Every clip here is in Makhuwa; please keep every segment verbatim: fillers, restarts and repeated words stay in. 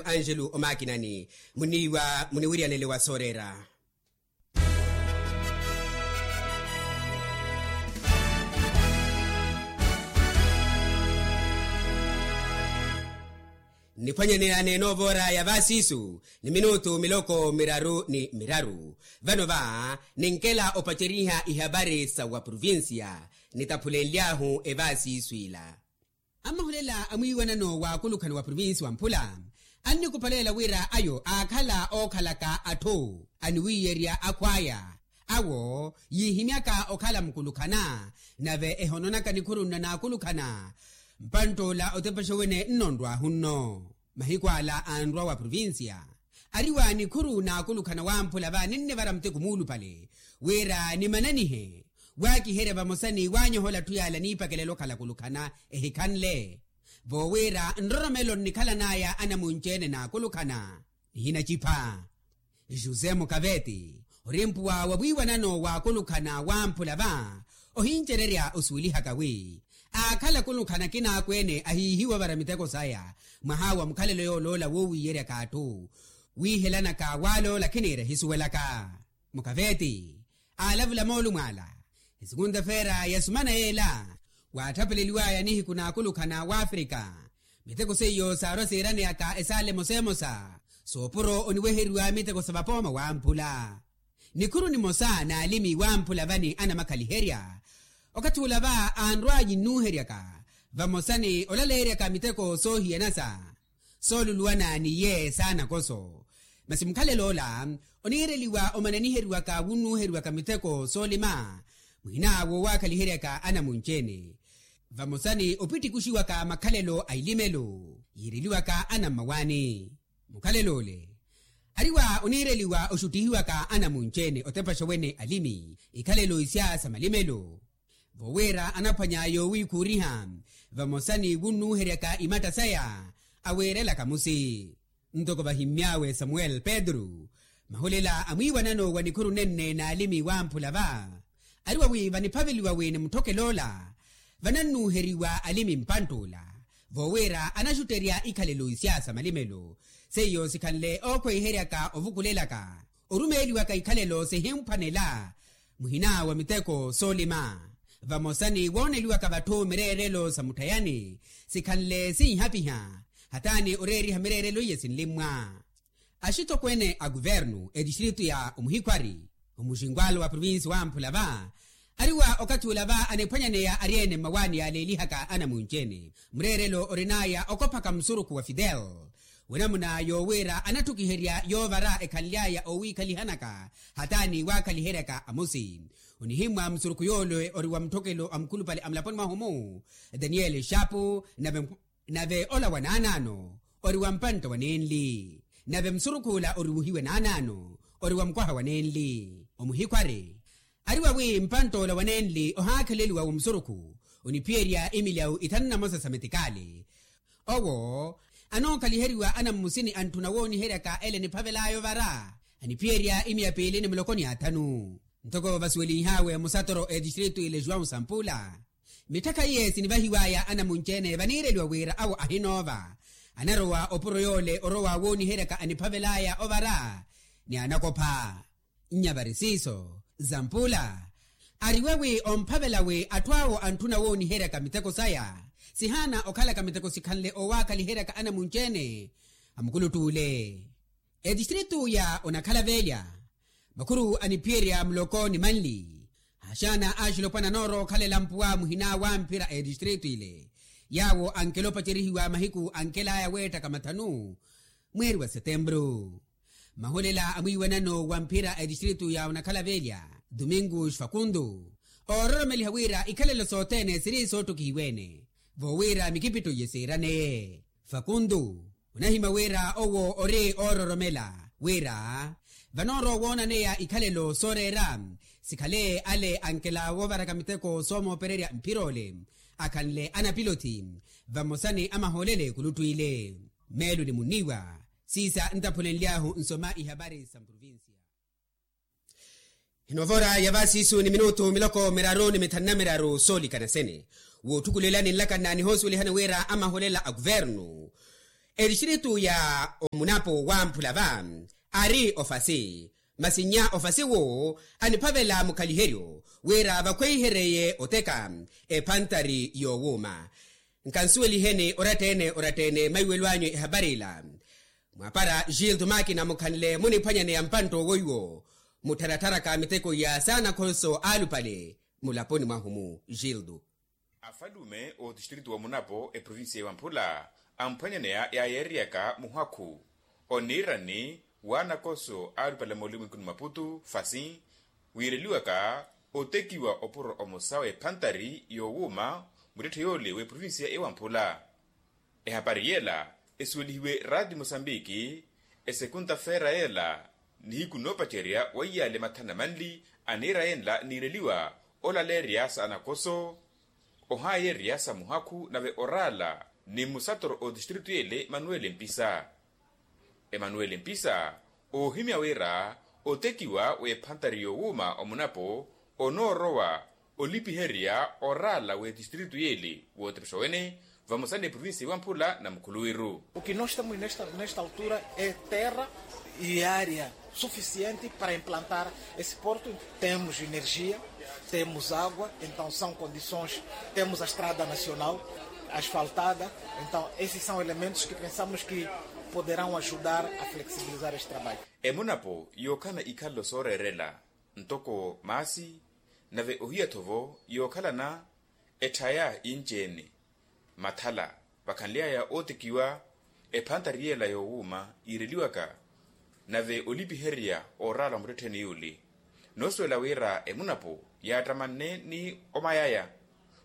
Angelo omakinani muniiwa muniwiryanele wa soorera. Niphwanyaneya n'enoovora ya vaasiisu ni minutu miloko miraru ni miraru. Vano va ninkela opaceriha ihapari sa wa provincia nitaphulenly'ahu evaasiisu ila. Amahulela a mwiiwanano wa akulukhana wa provinsi wa mphula annikupalelela wira ayo aakhala ookhalaka atthu aniwiiyerya akhw'aya awo yiihimyaka okhala mukulukhana nave ehononaka nikhuru nna n'akulukhana. Mpantt'ola otepexa wene nnonrw'ahu nno mahiku ala anrwa wa provinsiya ariwa nikhuru n'akulukhana wamphula va ninnivara muteko muulupale wira nimananihe waakiherya vamosa ni waanyohola atthu yaala niipakelela okhala akulukhana ehikhanle. Voowira nroromelo nnikhalan'aya anamunci-ene n'akulukhana nihinacipha. José mukaveti ori mpuwa wa wiiwanano w'akulukhana wamphula va ohincererya osuwelihaka wi aakhala akulukhana akinaakwe-ene ahiihiwa ovara miteko saya mwaha wa mukhalelo yooloola woowiiyeryaka atthu wiihelanaka waaloola khiniira ehisuwelaka. Mukaveti aalavula moolumo ala esikunta feera ya sumana yeela waatthapeleliw'aya nihiku n'akulukhana w'afrika. Miteko seiyo saarwa siiraneyaka esaala emosa emosa soopuro oniweheriwa miteko sa vapooma wamphula. Nikhuru nimosa n'alimi wamphula vani anamakhaliherya okathi ula va anrw'anyi nnuuheryaka vamosa ni olaleeryaka miteko soohiyanasa sooluluwana n'iye saanakoso. Masi mukhalelo ola oniireliwa omananiheriwaka wunnuuheriwaka miteko soolima muhina woowakhaliheryaka anamunci-ene vamosa ni opittikuxiwaka makhalelo a ilimelo yiireliwaka anammawaani. Mukhalelo ole ariwa oniireliwa oxuttihiwaka anamunci-ene otepaxa wene alimi ikhalelo isya sa malimelo voowira anaphwanya yoowiikhuuriha vamosa ni wunnuuheryaka imatta saya aweerelaka musi. Ntoko vahimmy'awe samuel pedro mahulela a mwiiwanano wa nikhuru nenne n'alimi wamphula va ariwa wi vaniphaveliwa wi ni mutthokelo ola vanannuuheriwa alimi mpantt'ula voowira anaxutterya ikhalelo isya sa malimelo seiyo sikhanle ookhweiheryaka ovukulelaka orumeeliwaka ikhalelo sihimphwanela muhina wa miteko soolima vamosa ni wooneliwaka vatthu mireerelo sa mutthayani sikhanle sinhapiha hataani oreeriha mireerelo iye sinlimmwa. Axitokweene a kuvernu etistritu ya omuhikhwari omuxinkwalo wa provinsi wamphula va ariwa okathi ula va aniphwanyaneya ari-ene mmawaani yaaleelihaka anamunci-ene mureerelo orin'aya okophaka musurukhu wa fidel wenamuna yoowira anatthukiherya yoovara ekhanly'aya oowiikhalihanaka hataani waakhaliheryaka amusi. Onihimmwa musurukhu yoole ori wa mutthokelo a mukhulupale a mulaponi mwahu-mu daniel xapu nave nave ola wa naanaano ori wa mpantta wa nenli nave musurukh'ula ori wuhiwe naanaano ori wa mukwaha wa nenli. Omuhikhwari ariwa wi mpantt'ola wa nenli ohaakheleliwa wa musurukhu oniphiyerya imilyawu ithanu na mosa sa metikaali owo anookaliheriwa anammusini antthuna wooniheryaka ele eniphavel'aya ovara aniphiyerya imiya piili ni muloko ni athanu. Ntoko vasuwelinh'awe musatoro etistritu ile juwau sampula mitthakha iye sinivahiw'aya anamunci-ene vaniireliwa wira awo ahinoova anarowa opuro yoole orowa wooniheryaka aniphavel'aya ovara ni anakopha. Nnya vari siiso zampula ariwe wi omphavela wi atthu awo antthuna wooniheryaka miteko saya sihaana okhalaka miteko sikhanle oowaakhaliheryaka anamunci-ene a mukuluttuule. Etistritu ya onakhala velya makhuru aniphiyerya muloko ni manli axaana axilopwana anoorookhalela mpuwa muhina wa mphira a etistritu ile yaawo ankela opacerihiwa mahiku ankel'aya weettaka mathanu mweeri wa setempuru. Mahulela a mwiiwanano wa mphira a etistritu ya onakhala velya domingo xfakundo oororomeliha wira ikhalelo sothene siri soottukihiwe-ene voowira mikipitto iye siiraneye. Fakuntu onahimya wira owo ori oororomela wira vanoorowa woonaneya ikhalelo sooreera sikhale ale ankela woovaraka miteko soomoopererya mphira ole akhanle anapilothi vamosa ni amahoolele kuluttwiile. Meelo ni munniiwa siisa ntaphulenly'ahu nsoma ihapari sa mprovincia. Hinovora ya vasiisu ni minutu miloko miraru ni mithanu na miraru soolikana sene wootthukulelani nlakana nihosuwelihani wira amahulela a kuvernu Etistiritu ya omunapo wamphula va ari ofasi, masi nnya ofasi wo aniphavela mukhaliheryo wira vakhweihereye oteka ephantari yowuuma. Nkansuweliheni oratta-ene oratta-ene maiwelo anyu ehapari ila. Mwapara gildo makina mukhanle muniphwanyaneya mpantta owo iwo muttharatharaka miteko iya saana khonso aalupale mulaponi mwahu-mu. Gildo. Afalume otistritu wa munapo eprovincia ewamphula amphwanyaneya yaayeeriyaka muhakhu oniirani waanakoso aalupale moolumwikuni maputu fasi wiireliwaka otekiwa opuro omosa w'ephantari yowuuma muttetthe yoole w'eprovincia ewamphula. Ehapari yeela esuwelihiwe raati mosambiki esekunta feera yeela nihiku noopacerya weiyaale mathana manli aniira yenla niireliwa olaleerya sa anakoso ohaayeerya sa muhakhu nave oraala ni musatoro otistritu yeele emanuwele mpisa. Emanuwele mpisa oohimya wira otekiwa w'ephantari yowuuma omunapo onoorowa olipiherya oraala w'etistritu yeele wootepexowene vamosa n'eprovincia ewamphula na mukhuluwiru. O que nós temos nesta altura é terra e área suficiente para implantar esse porto. Temos energia, temos água, então são condições. Temos a estrada nacional asfaltada. Então esses são elementos que pensamos que poderão ajudar a flexibilizar este trabalho. Emunapo yookhalana ikhalelo sooreerela ntoko maasi nave ohiya-tho vo yookhalana etthaya inci-ene mathala vakhanly'aya ootekiwa ephantari yeela yowuuma yiireliwaka nave olipiherya ooraala wa muttettheni yuuli. Noosuwela wira emunapo yaattamanne ni omayaya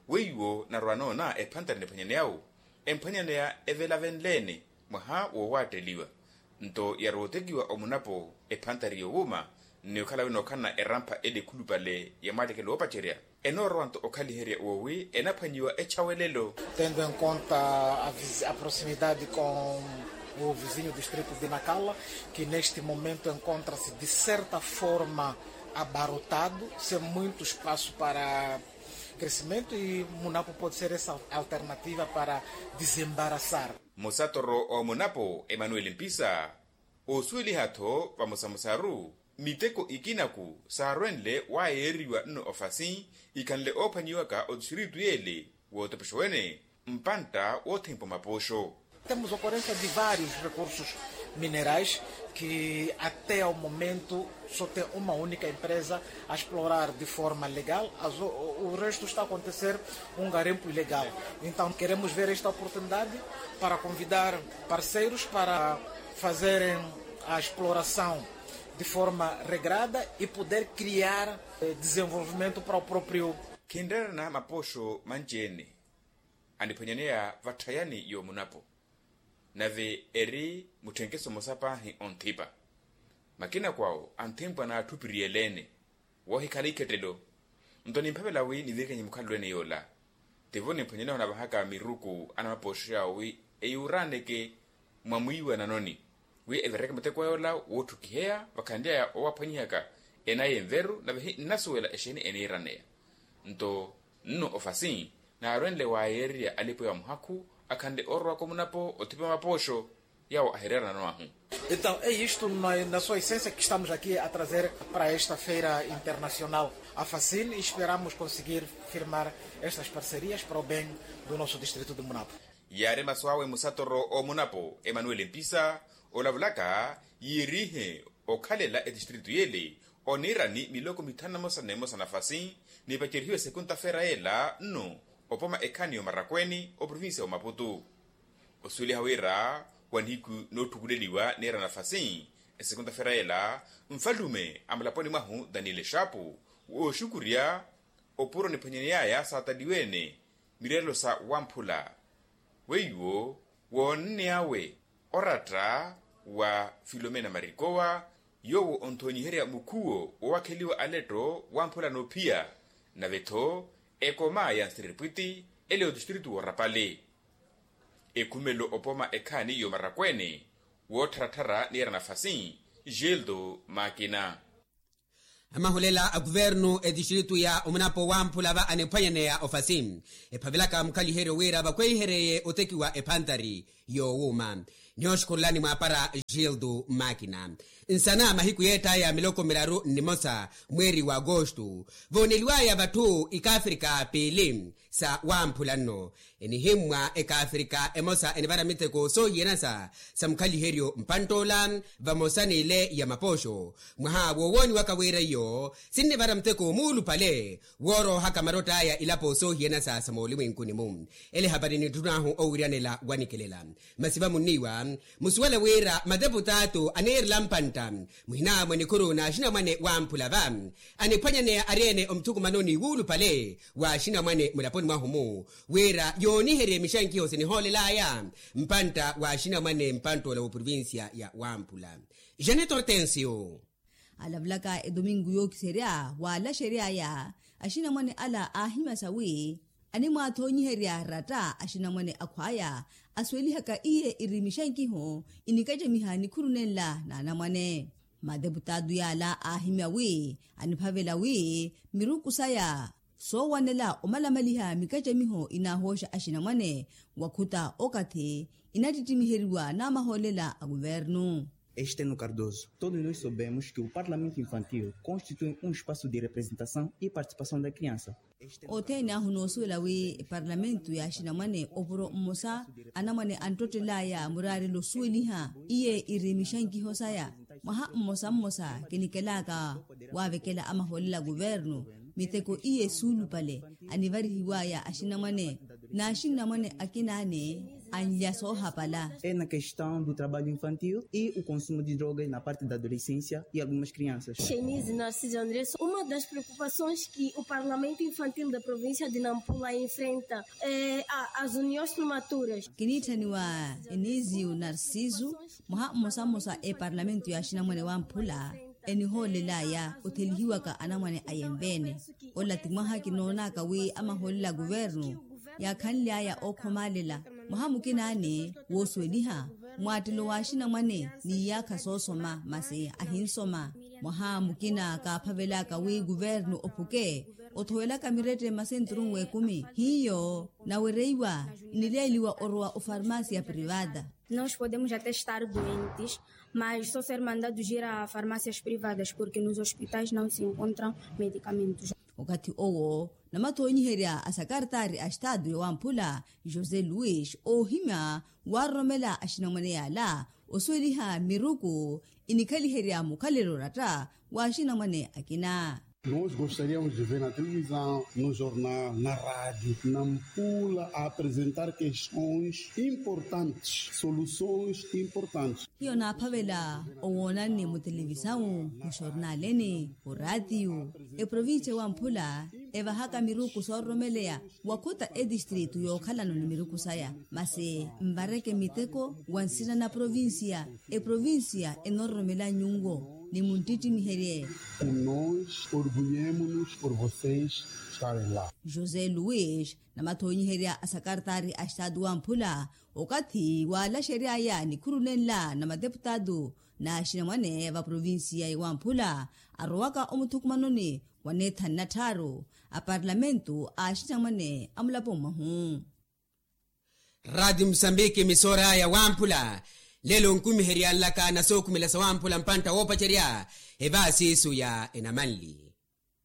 weiwo narwa noona ephantari niphwanyaneya-wo emphwanyaneya evelavenle-ene mwaha wowaatteliwa nto yarwa otekiwa omunapo ephantari yowuuma nni okhala winookhalana erampha ele ekhulupale ya mwaalekelo woopacerya enoorowa nto okhaliherya woowi enaphwanyiwa echawelelo. Tendo em conta a proximidade com o vizinho distrito de nacala, que neste momento encontra-se de certa forma abarrotado sem muito espaço para crescimento e munapo pode ser essa alternativa para desembaraçar. Musatoro omunapo emanuel mpisa oosuweliha-tho vamosamosaru miteko ikinaku saarwenle waayeeriwa nno ofasi ikhanle oophwanyiwaka otistiritu yeele wootepexowene mpantta woothempa omapooxo. Temos ocorrência de vários recursos minerais que até ao momento só tem uma única empresa a explorar de forma legal. O resto está a acontecer um garimpo ilegal. Então queremos ver esta oportunidade para convidar parceiros para fazerem a exploração de forma regrada e poder criar desenvolvimento para o próprio. Khinreerana mapooxo manci-ene aniphwanyaneya vatthayani yoomunapo nave eri mutthenkeso mmosa paahi onthipa makina kwawo anthempwa n'atthupiriyele-ene woohikhala ikhettelo. Nto nimphavela wi nivirikenye mukhalelo-ene yoola tivo nimphwanyaneya onavahaka miruku anamapooxo yaawo wi eyuuraaneke mwa mwiiwa nanoni wi evireke muteko yoola wootthukiheya vakhanly'aya owaphwanyihaka enaya enveru nave hi nnasuwela exeeni eniiraneya. Nto nno ofasi naarwenle waayeererya alipo ya muhakhu akhanle oorowaka omunapo othipa mapooxo yaawo ahireera nano ahu. Então é isto na sua essência que estamos aqui a trazer para esta feira internacional afasin e esperamos conseguir firmar estas parcerias para o bem do nosso distrito de munapo. Yaari masu awe musatoro omunapo emanuel mpisa olavulaka yiirihe okhalela etistritu yeele oniirani miloko mithanu na mosa na emosa nafasi nipacerihiwe sekunta feera yeela nno opoma ekhaani y'omarakweeni oprovincia y'omaputu. Osuweliha wira wa nihiku nootthukuleliwa niira nafasi esekunta feera yeela nfalume a mulaponi mwahu daniel exapu wooxukurya opuro niphwanyaney'aya saataliwe-ene mireerelo sa wamphula weiwo woonney'awe oratta wa filomena marikowa yoowo onthoonyiherya mukhuwo woowakheliwa aletto wamphula noophiya nave-tho ekoma ya nsiripwiti ele otistritu woorapale ekhumelo opoma ekhaani y'omarakweene woottharattharya niira nafasi. Gildo makina. Amahulela a kuvernu etistritu ya omunapo wamphula va aniphwanyaneya ofasi ephavelaka mukhaliheryo wira vakhweihereye otekiwa ephantari yoowuuma. Nihooxukhurulani mwaapara gildo makina. Nsana mahiku yeett'aya miloko miraru nnimosa mweeri wa agosto, vooneliw'aya vatthu ikaafrika piili sa wamphula nno. Enihimmwa ekaafrika emosa enivara miteko soohiyanasa sa mukhaliheryo mpantt'ola, vamosa n'ile ya mapooxo. Mwaha woowooniwaka wira iyo sinnivara muteko muulupale wooroohaka marott'aya ilapo soohiyanasa sa moolimwenkuni-mu. Ele hapari nitthun'ahu owiryanela wanikelela. Masi vamunniiwa musuwela wira mateputaatu aniirela mpantta muhinaamwe nikhuru n'axinamwane wamphula va, aniphwanyaneya ari-ene omuthukumanoni wuulupale w'axinamwane mulaponi mwahu-mu, wira yooniherye mixankiho sinihoolel'aya mpantta w'axinamwane mpantt'ola w'oprovincia ya wamphula. Janet hortensio. Alavulaka edomingu yookiserya waalaxery'aya, axinamwane ala aahimya sawi animwaathoonyiherya ratta axinamwane akhw'aya asuwelihaka iye iri mixankiho inikacamiha nikhuru nenla n'anamwane. Mateputaatu yaala aahimya wi aniphavela wi miruku saya soowanela omalamaliha mikacamiho inaahooxa axinamwane wakhuta okathi inattittimiheryiwa n'amahoolela a kuvernu. Este no cardoso todos nós soubemos que o parlamento infantil constitui um espaço de representação e participação da criança. Othene ahu noosuwela wi eparlamentu ya axinamwane opuro mmosa anamwane anttottel'aya muraarelo osuweliha iye iri mixankiho saya. Mwaha mmosa mmosa kinikel'aka waavekela amahoolela a kuvernu miteko iye suulupale anivarihiw'aya axinamwane n'axinamwane akinaane anlya soohapala. Ena questão do trabalho infantil e o consumo de drogas na parte da adolescência e algumas crianças. Chenise narciso andres uma das preocupações que o parlamento infantil da província de nampula enfrenta é as uniões prematuras. Kiniitthaniwa enizio narciso mwaha mmosa mmosa eparlamentu ya axinamwane wamphula enihoolel'aya othelihiwaka anamwane a yenveene. Ola ti mwaha kinoon'aka wi amahoolela a kuvernu yaakhanly'aya ookhomaalela mwaha mukinaani woosuweliha mwaattelo w'axinamwane n'iyaakha soosoma masi ahinsoma. Mwaha mukina kaaphavel'aka wi kuvernu ophuke othowelaka mirette masenturun w'ekumi hiyo nawereiwa inileeliwa orowa ofarmasia privata. Nós podemos até estar doentes mas só ser mandados ir a farmácias privadas porque nos hospitais não se encontram medicamentos. Okathi owo namathoonyiherya a sakartaari a estado ya wamphula josé luis oohimya waaroromela axinamwane yaala osuweliha miruku inikhaliherya mukhalelo oratta w'axinamwane akina. Nos gostaríamos de ver na televisão no jornal na rádio nampula a apresentar questões importantes soluções importantes. Hiyo naaphavela owoonanne mutelevisawu muxornaleni oraatiyu eprovincia wamphula evahaka miruku soororomeleya wakhuta etistritu yookhalano ni miruku saya masi nvareke miteko wa nsina na provincia. Eprovincia enororomela nyunwo ni munttittimiherye. Nos orgullhemos nos por vocês estarem la. José luis namathoonyiherya a sakartaari a estado wamphula okathi waalaxery'aya nikhuru nenla na mateputaatu n'axinamwane va provincia ya wamphula arowaka omuthukumanoni wa neethanu na tthaaru a parlamentu a axinamwane a mulapo mwahu. Raati musambiki misoora ya wamphula lelo nkumiheryanlaka na sookhumela sa wamphula mpantta woopacerya evaasiisu ya enamanli.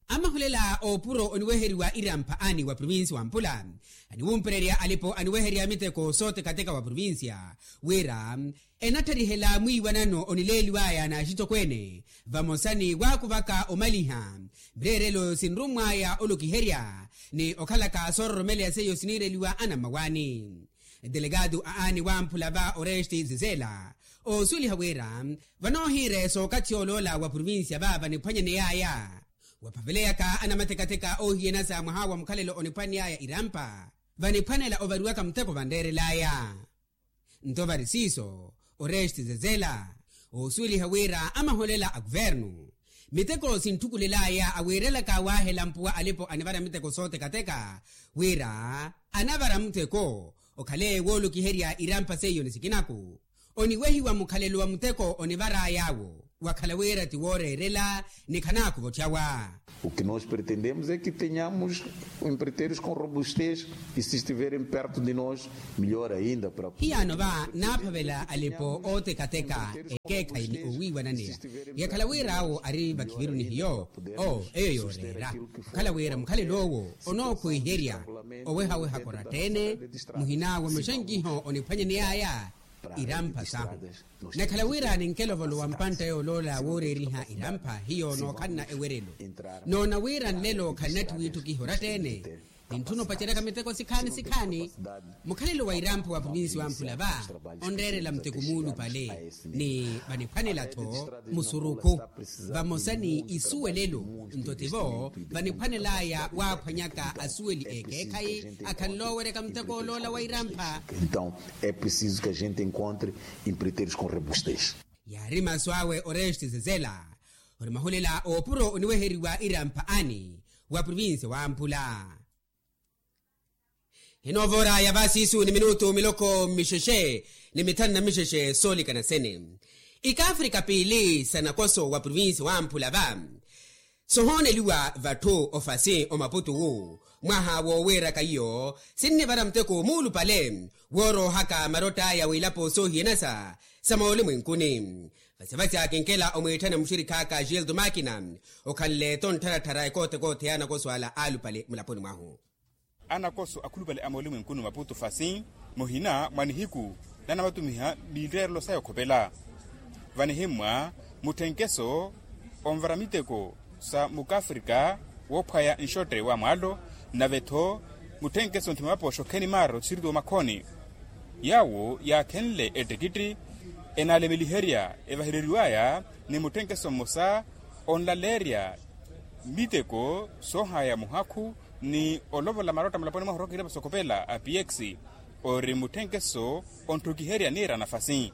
Amahulela oopuro oniweheriwa irampha aani wa provincia wamphula aniwumpererya alipo aniweherya miteko sootekateka wa provincia wira enattarihela mwiiwanano onileeliw'aya n'axitokweene vamosa ni waakuvaka omaliha mireerelo sinrummw'aya olokiherya ni okhalaka soororomeleya seiyo siniireliwa anammawaani. Delegado a aani wamphula va oreste zezela oosuweliha wira vanoohiire sookathi yooloola wa provincia va vaniphwanyaney'aya waphaveleyaka anamatekateka oohiyanasa mwaha wa mukhalelo oniphwaney'aya irampa vaniphwanela ovariwaka muteko vanreerel'aya. Nto vari siiso oreste zezela oosuweliha wira amaholela a kuvernu miteko sinthukulel'aya awiirelaka waahela mpuwa alipo anivara miteko sootekateka wira anavara muteko okhale woolokiherya irampa seiyo ni sikinaku oniwehiwa mukhalelo wa muteko onivar'ay'awo. Wakhala wira ti wooreerela ni khanaakhuva otthawa. O ki nos pretendemos e ki tenhamos empreiteiros com robustez, e si estiverem perto de nos melhor ainda para. Hiyaano va naaphavela alipo ootekateka ekeekhayi ni owiiwananeya. Yakhala wira awo ari vakhiviru ni hiyo, oo eyo yooreera. Okhala wira mukhalelo owo onookhwiherya owehaweha koratta-ene, muhina wa maxankiho oniphwanyaney'aya irampha sahu. Nakhala wira ninkelovolowa mpantta yooloola wooreeriha irampha hiyo nookhanna ewerelo. Noona wira nlelo khannatthiwa itthukiha oratta-ene. Nintthuna opaceryaka miteko sikhaani sikhaani. Mukhalelo wa irampha wa provinsi wamphula va onreerela muteko muulupale, ni vaniphwanela-tho musurukhu vamosa ni isuwelelo. Nto tivo vaniphwanel'aya waaphwanyaka asuweli ekeekhayi akhanle oweryaka muteko oloola wa irampha. Então é preciso que a gente encontre empreiteiros com robustez. Yaari masu awe oreste zezela ori mahulela oopuro oniweheriwa irampha ani wa provinsi wamphula. Hinoovora ya vasisu ni minutu miloko mixexe ni mithanu na mixexe soolikana sene. Ikaafrika piili sa nakoso wa provinsi wamphula va sohooneliwa vatthu ofasi omaputu wu mwaha woowiiraka iyo sinnivara muteko muulupale wooroohaka marott'aya w'ilapo soohiyanasa sa moolimwenkuni. Vasivasi akinkela omwiitthana muxirikh'aka gildo makina okhanle-tho nttharatthar'aya koothekootheya anakoso ala aalupale mulaponi mwahu. Anakoso akhulupale a moolimwenkuni maputu fasi muhina mwa nihiku nanamatumiha miitteerelo saya okhopela vanihimmwa mutthenkeso onvara miteko sa mukafrika woophwaya nxotte wa mwaalo nave-tho mutthenkeso ntthima mapoxo kheni maaro siriti omakhoni. Yaawo yaakhenle ettekitthi enaalemeliherya evahereriw'aya ni mutthenkeso mmosa onlaleerya miteko soohaya muhakhu ni olovola marotta mulaponi mwahu orooka ilapo sokhopela a px ori mutthenkeso ontthukiherya niira nafasi.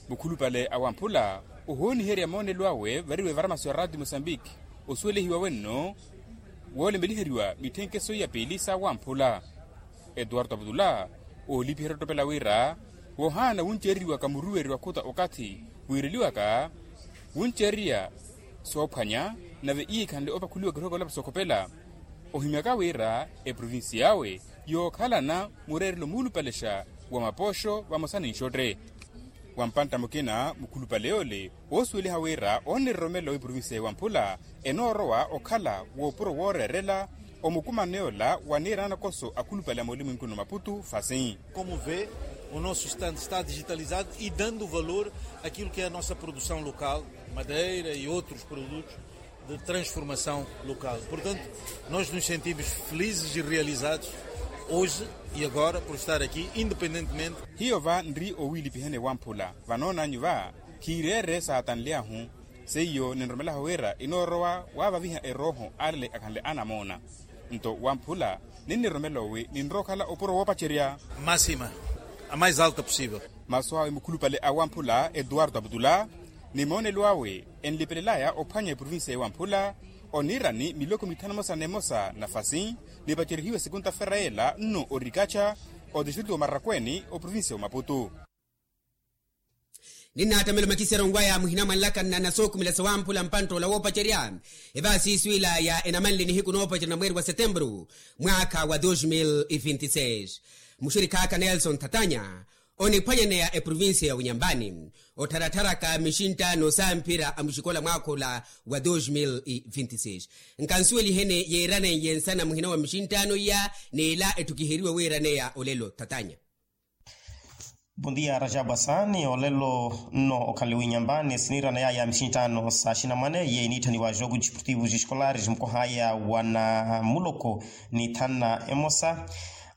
Mukhulupale a wamphula ohooniherya moonelo awe variwe varamaso ya radio mosambiki osuwelehiwa wenno woolemeliheriwa mitthenkeso ya piili sa wamphula. Etuwarto aputula oolipiherya ottoppela wira wohaana wunceereriwaka muruweri wa khuta okathi wiireliwaka wunceereriya soophwanya nave iikhanle opakhuliwa kirooko lapo sokhopela ohimyaka wira eprovincia awe yookhalana mureerelo muulupalexa wa mapoxo vamosa ni nxotte. Wa mpantta mukina mukhulupale yoole woosuweliha wira onniriromelo w'iprovincia ya wamphula enoorowa okhala woopuro wooreerela omukumano yoola wa niira nanakoso akhulupale a moolimwenkuni omaputu fasi. Como vê, o nosso estande está digitalizado e dando valor àquilo que é a nossa produção local, madeira e outros produtos de transformação local. Portanto, nós nos sentimos felizes e realizados hoje e agora por estar aqui, independentemente. Hiyo va nri owiilipihani wamphula vanoonanyu va khiireere saatanly'ahu. Seiyo ninromelaho wira inoorowa waavaviha erooho alale akhanle anamoona. Nto wamphula ninniromela owi ninrookhala opuro woopacerya. Máxima a mais alta possível. Masu awe mukhulupale a wamphula etuwarto aputula ni moonelo awe enlipelelaya ophwanya eprovincia ya wamphula oniirani miloko mithanu emosa n'emosa nafasi nipacerihiwe sekunta-fera yeela nno orikacha otistritu wa marakweni oprovincia ya omaputu. Ninnaattamela omakiseryo nwa ya muhina mwa nlakanna na sookhumela sawamphula mpantt'ola woopacerya evaasiisu ila ya enamanle nihiku noopacerya na mweeri wa setemburu mwaakha wa dos mil e vinti seis. Muxirikh'aka nelson thatanya oniphwanyaneya eprovincia ya winyambani ottharatharaka mixinttano samphira a muxikola mwaakha ola wa dos mil e vinti seis. Nkansuweliheni yiiraneiye nsana muhina wa mixinttano iya n'ila etthukiheriwe wiiraneya olelo thatanya. Bondia rajabu asani olelo nno okhanle winyambani siniirana yaya mixinttano sa xinamwane yeyi niitthaniwa jogo disportivo escolares mukohaya wa namuloko ni thanna emosa.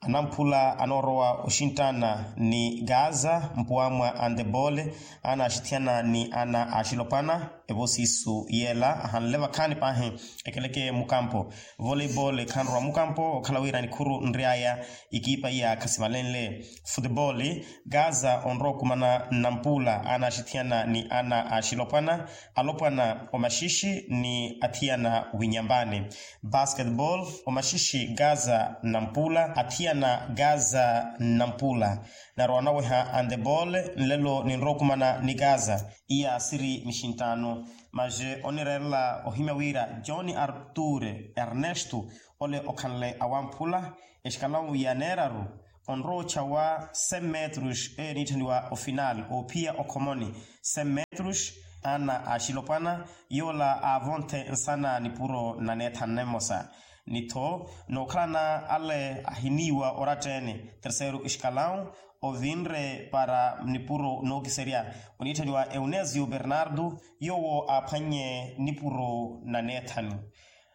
Anamphula anoorowa oxinttana ni gaza mpuwa mwa andebole ana axithiyana ni ana axilopwana. Evo siisu yeela ahanle vakhaani paahi ekeleke mukampo voleibole khanrowa mukampo okhala wira nikhuru nry'aya ikipa iya khasimalenle futebole. Gaza onrowa okumana nnampula ana axithiyana ni ana axilopwana alopwana omaxixi ni athiyana winyambani. Basketball omaxixi gaza nnampula athiyana na gaza nampula. Narowa naweha antebol nlelo ninrowa okumana ni gaza. Iya siri mixinttaano. Maxe onireerela ohimya wira john artur ernesto ole okhanle awamphula exikalawu ya neeraru onrowa ochawa cem metros eniitthaniwa ofinal oophiya okhomoni cem metros. Ana axilopwana yoola aavonthe nsana nipuro na neethanu nemosa. Ni-tho nookhalana ale ahiniiwa oratta-ene terceiro exikalawu ovinre para nipuro nookiserya oniitthaniwa eunesio bernardo yoowo aaphwannye nipuro na neethanu.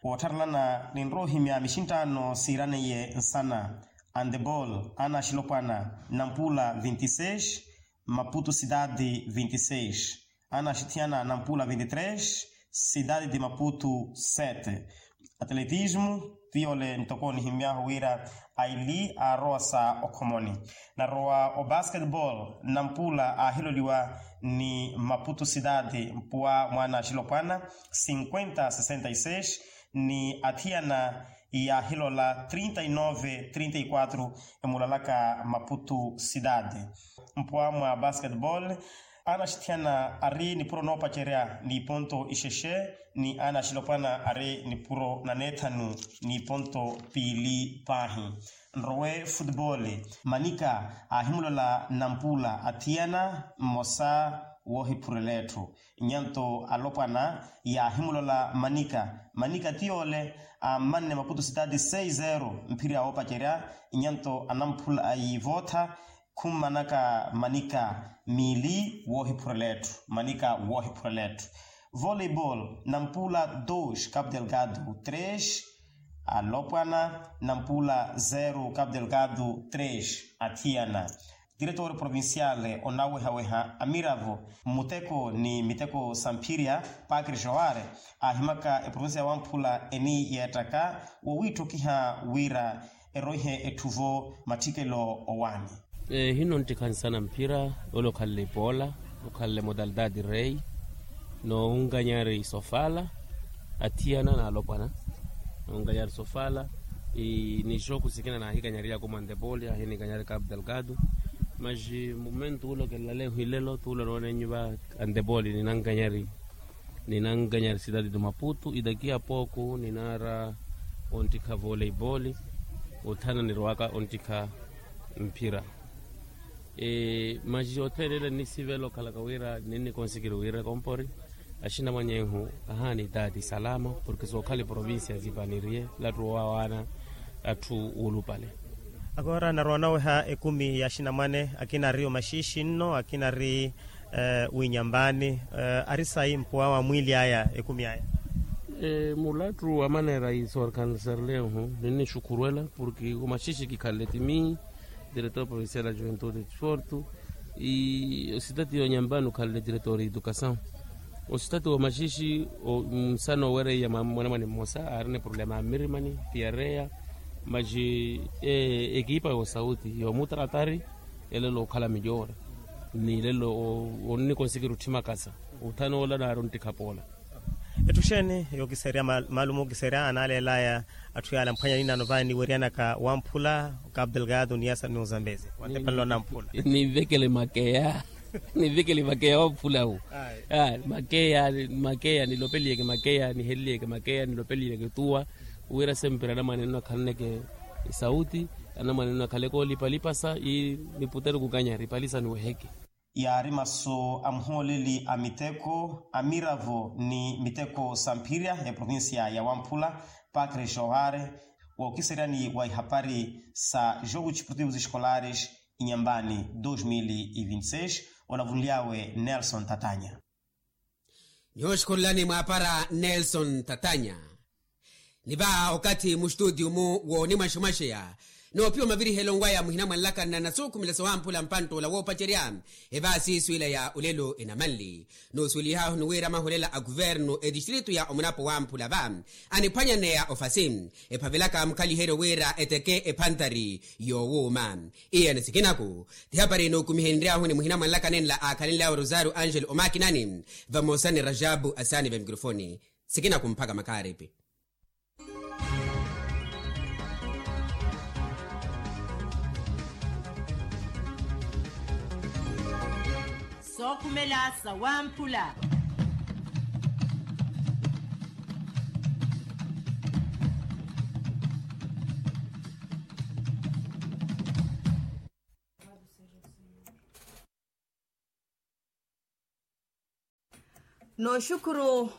Woottharelana ninrowa ohimya mixinttaano siiraneiye nsana antebol ana axilopwana nampula vinti seis maputo cidade vinti seis ana axithiyana nampula vinti tres cidade de maputo sete. Atletismo tiyo ole ntoko nihimyahu wira aili aarowa sa okhomoni. Narowa obasketball nampula aahiloliwa ni maputo cidade mpuwa mwa ana axilopwana cinquenta sessenta y seis ni athiyana yaahilola trinta y nove trinta y quatro emulalaka maputo cidade. Mpuwa mwa basketball ana axithiyana ari nipuro noopacerya n'iponto ixexe ni ana axilopwana ari nipuro na neethanu n'iponto piili paahi. Nrowe futebole manika aahimulola nampula athiyana mmosa woohiphurela etthu. Nyanto alopwana yaahimulola manika manika ti yoole ammanne maputo sitati sei zero mphiri awoopacerya. Nyanto anamphula yiivootha khummanaka manika miili woohiphurela etthu manika woohiphurela etthu. Voleibol nampula dos capu delgado tres alopwana nampula zero capu delgado tres athiyana. Tiretore provinciale onawehaweha amiravo mmuteko ni miteko samphirya pakri joare aahimaka eprovincia ya wamphula eni yeettaka wowiitthokiha wira eroihe etthuvo matthikelo owaani. Ehino nttikha nsana mphira ole okhanle ipoola okhanle modalidadi rei noonkanyari sofala athiyana naalopwana noonkanyari sofala. Ni joku sikina naahikanyari yaku mwa antepoli ahininkanyari capu delgado. Maxi mumento ula okelelaleihu ilelo tuula noonenyu va antepoli ninankanyari ninankanyari sitati di maputu idaki ya pooku ninaara onttikha voleiboli othana nirowaka onttikha mphira. Maxi othene ile nnisivela okhalaka wira ninnikonsikiri wira ekompori axinamwanyehu ahaana itaati salama porke sookhala eprovincia zipaniriye lattu owawaana atthu woolupale. Akoora narowa naweha ekumi ya axinamwane akina ari omaxiixi nno akina ari winyambani ari sayi mpuwa wa mwiili aya ekumi aya. Mulattu wa maneera isorkansarlehu ninnixukhurwela porke omaxiixi kikhanle timi diretor provincial ya juventude e desporto ositati yonyambani okhanle diretor educasaw. Ositati womaxiixi nsana owereiya mwanamwane mmosa aarina eproblema ya mmirimani piareya maxi ekipa yoosauti yoomuttaratari elelo okhala mijoora ni lelo onnikonsikiri otthimakasa othanoola naari onttikha poola. Etthu xeeni yookiserya maalumu okiserya anaaleelaya atthu yaale amphwanya ninano vaani niweryanaka wamphula okapu delgado ni yasa ni ozambezi wantepanela onamphula. Ninvekele makeya ninvekele makeya wamphula wu. Makeya makeya nilopeliyeke makeya niheleliyeke makeya nilopeliyeke tuwa wira sempre anamwane nno akhalaneke esauti anamwane nno akhaleke olipalipasa ii niputeru kukanyari ipalisa niweheke. Yaari masu a muhooleli a miteko a miravo ni miteko samphirya ya provincia ya wamphula pakre johare wookiseryani wa ihapari sa jogo desportivo escolares inyambani dos mil e vinti seis. Olavunly'awe nelson tatanya. Nyooxukhululani mwaapara nelson tatanya. Ni va okathi mustutio-mu woonimwaximwaxeya noopiwa mavirihelo nwaya muhina mwanlakanna na nasuukhumela sowamphula mpantt'ula woopacerya evaasiiswiila ya olelo enamanli. Noosuwelihaahu ni wira mahulela a kuvernu etistritu ya omunapo wamphula va aniphwanyaneya ofasi ephavelaka mukhaliheryo wira eteke ephantari yoowuuma. Iye ni sikinaku ti hapari enookumihenry'ahu ni muhina mwanlaka nenla aakhalenly'awe rosario angelo omakinani vamosa ni rajabu asaani vemikirofoni. Sikinaku mpakha makaaripi. sookhumela sawamphula. Nooxukhuru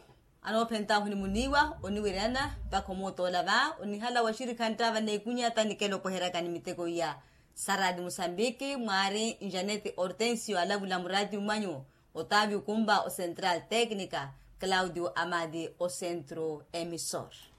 anoophentahu ni muniiwa oniwiryana mpakha omuutoola va onihala wa xirikhantta vaneekunyata nikela opoheryakani miteko iya. Saradi musambiki mwaari njaneti hortensio alavula murati mwanyu, otaavi okumpa ocentral tecnica, claudio amadi ocentro emisor.